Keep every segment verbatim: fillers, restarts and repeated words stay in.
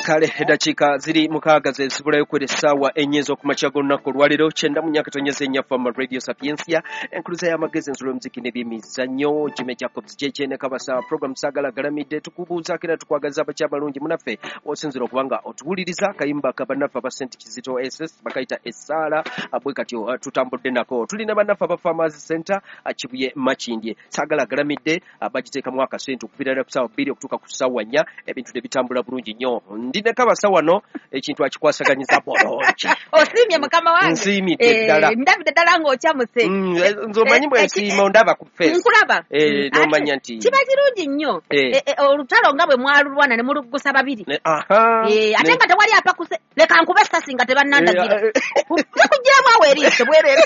Kale eddakiika ziri mukaaga ze zibulayo kwera essaawa ennya ez'okumakya g'olunaku olwaleero, kyenda mu myaka tonyeza ennya Fama Radio Sapientia, enkuluza y'amagezi, ensulo y'omuziki n'ebyemizannyo. Jimmy Jacobs J J ne Kabasa, program Saagala Galamidde. Tukubuuzaako era tukwagaliza abakya abalungi munaffe osinzira okuba nga otuwuliriza. Akayimba ka bannaffe aba Saint Kizito S S bakayita Essaala. Bwe katyo uh, tutambudde nako. Tulina bannaffe aba Farmers Center, uh, Kibuye, Makindye. Saagala Galamidde uh, bagiteekamu akasente okuviira ddala ku ssaawa bbiri okutuuka ku ssaawa nnya, ebintu ne bitambula bulungi nnyo. Ndi ne Kabasa wano, ekintu akikwasaganyiza bulungi. Osiimye, mukama wange? Nsiimidde Eh, ddala. Ndabidde ddala ng'okyamuse. Mm, eh, nze omanyi bwe Eh, nsiima, ondaba ku face. Nkulaba. Eh, Mm, n'omanya ate nti kiba kirungi nnyo. Eh. Eh, eh, olutalo nga bwe mwalulwana ne muluggusa babiri. Ne- aha Eh, ate ne- nga tewali apakuse, leka nkube essasi nga tebannandagira. Eh, Bakugiramu awo eriiso bwerere.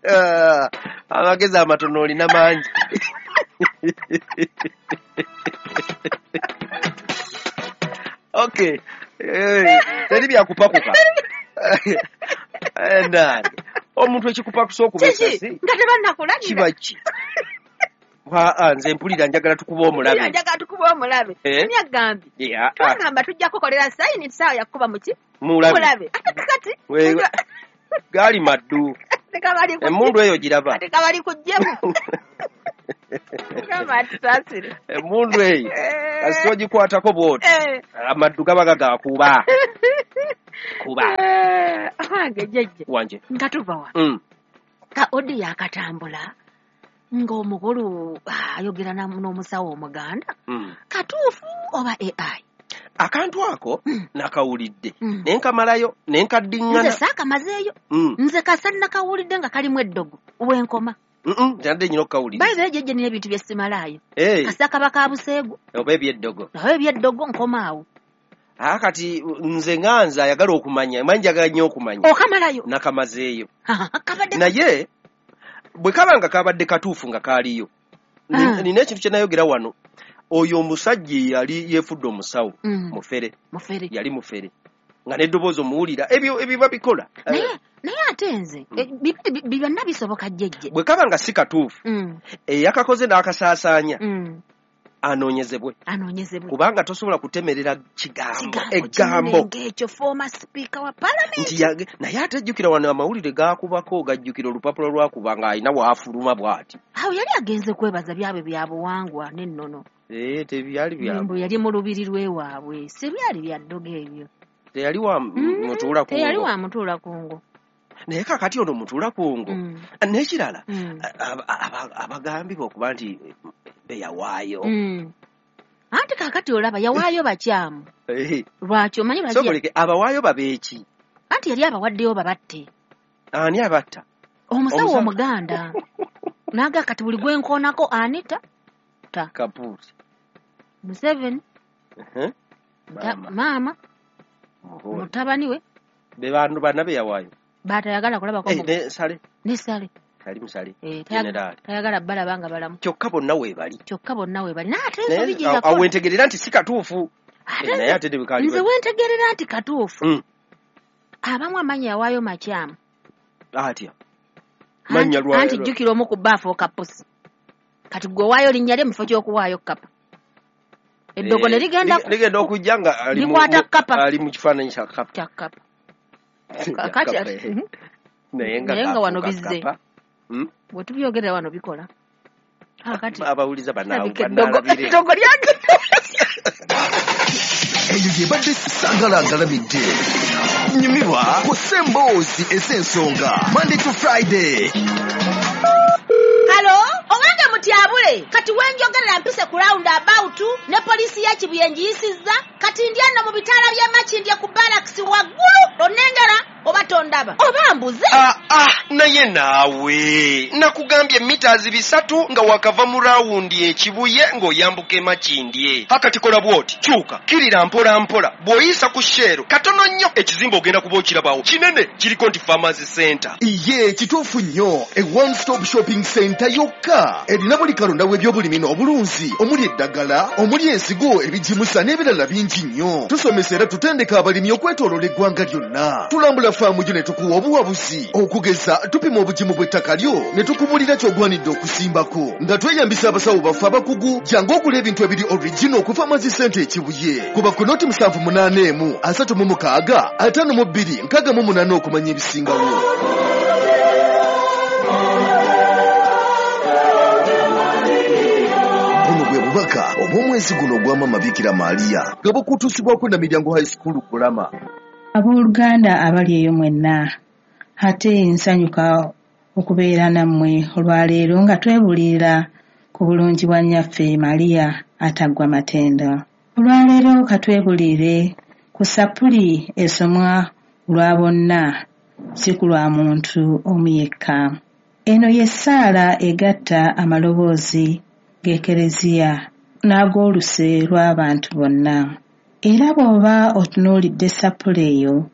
eh, amagezi amatono olina mangi. Okay. Eh, teri byakupakuka. Eh, nange omuntu ekikupakusa okuba Kiki essasi nga tebannakulagira? Kiba ki? Aa, nze mpulira njagala tukuba omulabe. Njagala tukuba omulabe. Eh? Ani agambye? Yeah, ah, Twagamba tujja kukolera sayini, saawa yakuba muki? Mulabe. Mulabe. Ate kakati We- gaali maddu. Tekabali ku- Emmundu eyo giraba. Ate kabali kuggyemu. Mukama atusaasire. Emmundu eyo kasita ogikwatako bwoti, Eh. amaddu gaba gagakuba kuba. Eh, wange jjajja, Wanje. nga tuva wano, Mm. ka odi yakatambula ng'omukulu ah, ayogera na- n'omusawo omuganda. Mm. Katuufu oba A I? Akantu ako Mm. nakawulidde Mm. naye nkamalayo ne Nze nkaddiŋŋana. saakamazeeyo. Mm. Nze kasa nakawulidde nga kalimu eddogo wenkoma. Mm-mm, nzadde nyina okukawuliriza. Bayibuli jjajja, nina ebintu bye simalaayo. Eh, Kasa kaba ka buseegu. Oba ebyeddogo. Naye ebyeddogo nkomaawo. Aa, kati nze nga nze ayagala okumanya, manyi njagala nnyo okumanya. Okamalayo? Nakamazeeyo. Kabadde Naye bwe kaba nga kabadde katuufu nga kaaliyo, Ni- Ah. nina ekintu kye nayogera wano, oyo omusajja eyali yeefudde omusawo Mm. mufere. Mufere. Yali mufere nga n'eddoboozi omuwulira, ebyo ebiba bikola. Naye naye ate nze Mm. eh, bibiri bi- byonna bisoboka, jjejje. Bwe kaba nga si katuufu, Mm, eyakakoze n'akasaasaanya mm. anoonyezebwe. Anoonyezebwe. Kubanga tosobola kutemerera kigambo Kigambo eggambo kinene ng'ekyo, former speaker wa parliament. Nti yage- naye ate jjukira wano amawulire gaakubako, gajjukira olupapula lwakuba ng'alina waafuluma bw'ati. Awo yali agenze kwebaza byabwe bya buwangwa n'ennono. Eh, tebyali bya Mbu yali mu lubiri lw'ewaabwe, si byali bya ddogo ebyo. Teyali wa Mm, mutuula teyali kungo. wa mutuula kungo. Naye kakati ono mutuula kungo. Mm, N'ekirala, mm, aba- aba- abagambibwa okuba nti beyawaayo. mm. Anti kaakati olaba yawaayo bakyamu. Eh, Lwaki omanyi lwaki? Sokoleke abawaayo babeeki? Anti yali abawaddeyo babatte. Ani abatta? Omusawo Omusawo. omuganda naga kati buli gwenkoonako anita ta. Kapuuti. Museveni. Eh, ta- Maama. Maama. Muhoozi. Mutabani we. Be bantu banna beyawaayo. Batayagala kulabako. Eh, ne Sale. Ne Sale. Ali musale. Eh, tayaga- General. Tayagala balaba nga balamu. Kyokka bonna weebali. Kyokka bonna we bali, naye ate Naye ensobi gye awo yakola wentegerera nti si katuufu. Ate Eh, naye nze- ate tebikaali. Nze wentegerera nti katuufu, Mm. abamu amannya yawaayo makyamu. Atya? Mannya Anti- lwa- Anti jjukira omu ku ba afuuka pusi, kati gwe owaayo linnya lye mu kifo ky'okuwaayo kapa, eddogo ne Eh, ligenda lig- ligenda okujja nga ali mu- likwata mu- kapa. Ali mu kifaananyi kya kapa. Kya kapa. Kakati Kapa, eh. Naye nga Naye nga wano kafuuka bizze. kapa. Mm? Bwe tubyogerera wano bikola kakati Abawuliza bana- kirabika eddogo banaalabire. Eddogo lyagenda. Eyo yebadde Sagala Agalamidde. Nyumirwa ku Semboozi ez'ensonga, Monday to Friday. Halo, owange mutyabule, kati wenjogerera mpise ku round about ne poliisi ya Kibuye ngiyisizza, kati ndi ano mu bitaala by'e Makindye ku barracks waggulu, onnengera oba tondaba oba mbuze? Ah, ah, naye naawe nakugambye mitazi bisatu nga wakava mu rawundi ekibuye ng'oyambuka emakindye. Akati kola bw'oti, kyuka kirira mpola mpola, bw'oyisa ku Shell katono nnyo, ekizimbe ogenda kuba okirabawo kinene, kiriko nti Farmers Center. Iye kituufu nnyo, e one stop shopping center yokka erina buli kalonda w'ebyobulimi n'obulunzi, omuli eddagala, omuli ensigo, ebigimusa n'ebirala bingi nnyo. Tusomesa era tutendeka abalimi okwetooloola eggwanga lyonna. Tulambula Tusembera faamu gyo ne tukuwa obuwabuzi. Okugeza tupima obugimu bw'ettaka lyo ne tukubuulira ky'ogwanidde okusimbako. Nga tweyambisa abasawo baffe abakugu, jangu ogula ebintu ebiri original okuva Pharmacy Center e Kibuye. Kuba ku noti musanvu munaana emu asatu mu mukaaga ataano mu bbiri nkaaga mu munaana okumanya ebisingawo. Buno bwe bubaka obw'omwezi guno ogwa Maama Bikira Maria nga bukutuusibwako na Miryango High School Kulama. Abooluganda abali eyo mwenna, ate nsanyuka okubeera nammwe olwaleero nga twebuulirira ku bulungi bwa nnyaffe Maria ataggwa matendo. Olwaleero katwebuulire ku sappuli esomwa lwa bonna, si ku lwa muntu omu yekka. Eno y'essaala egatta amaloboozi g'Ekereziya n'ag'oluse lw'abantu bonna. Era bw'oba otunuulidde sappuli eyo,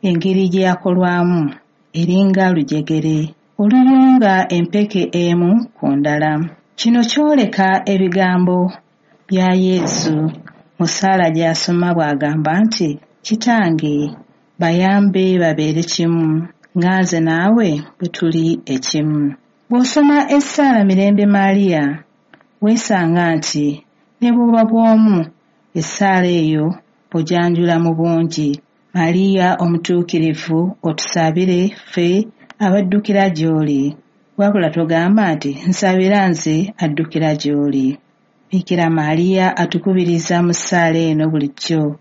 engeri gye yakolwamu eringa lujegere oluyunga empeke emu ku ndala. Kino kyoleka ebigambo bya Yesu mu ssaala gy'asoma bw'agamba nti, Kitange bayambe babeere kimu, nga nze naawe bwe tuli ekimu. Bw'osoma essaala Mirembe Maria, weesanga nti ne bw'oba bw'omu essaala eyo ogyanjula mu bungi. Maria omutuukirivu otusabire ffe abaddukira gy'oli. Wabula togamba nti nsabira nze addukira gy'oli. Bikira Maria atukubiriza mu ssaala eno bulijjo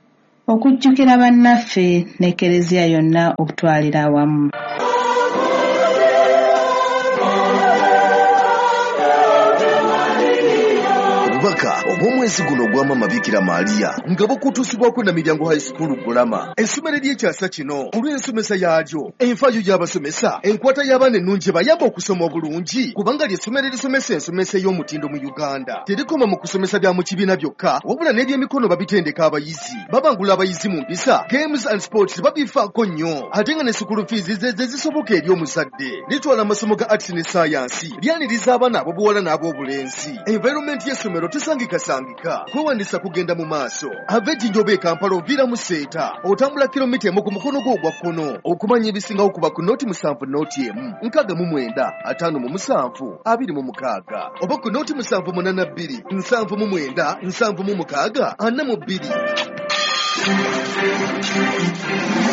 okujjukira bannaffe n'Ekereziya yonna okutwalira awamu. Obubaka obw'omwezi guno ogwa Maama Bikira Maria nga bukutuusibwako na Miryango High School Kulama. Essomero ery'ekyasa kino olw'ensomesa yaalyo, enfaayo y'abasomesa, enkwata y'abaana ennungi ebayamba okusoma obulungi, kubanga ly'essomero erisomesa ensomesa ey'omutindo mu Uganda. Terikoma mu kusomesa bya mu kibiina byokka, wabula n'ebyemikono babitendeka abayizi. Babangula abayizi mu mpisa, games and sports babifaako nnyo, ate nga ne school fees ze ze zisoboka eri omuzadde. Litwala amasomo ga arts ne science, lyaniriza abaana ab'obuwala n'ab'obulenzi. Environment y'essomero tesangikasangika. Kwewandisa kugenda mu maaso. Ava Ejjinja oba e Kampala oviira mu Seeta, otambula kilomita emu ku mukono gwo ogwa kkono. Okumanya ebisingawo kuba ku noti musanvu noti emu nkaaga mu mwenda ataano mu musanvu abiri mu mukaaga oba ku noti musanvu munaana bbiri nsanvu mu mwenda nsanvu mu mukaaga ana mu bbiri.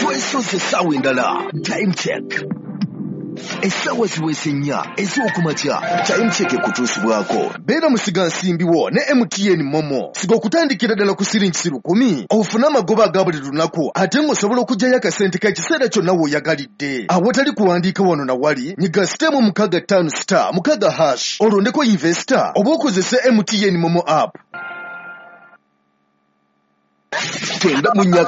Twesoze essaawa endala. Time check. Essaawa ziweze nnya ez'okumakya. Time check ekutuusibwako. Beera musigansimbi wo ne M T N Momo. Siga okutandikira ddala ku siringi lukumi ofune amagoba aga buli lunaku, ate ng'osobola okuggyayo akasente k'ekiseera kyonna w'oyagalidde. Awatali kuwandiika wano na wali, nyiga sitemu mukaaga ttaano star mukaaga hash olondeko investor oba okozese M T N Momo app. Tenda mu nnya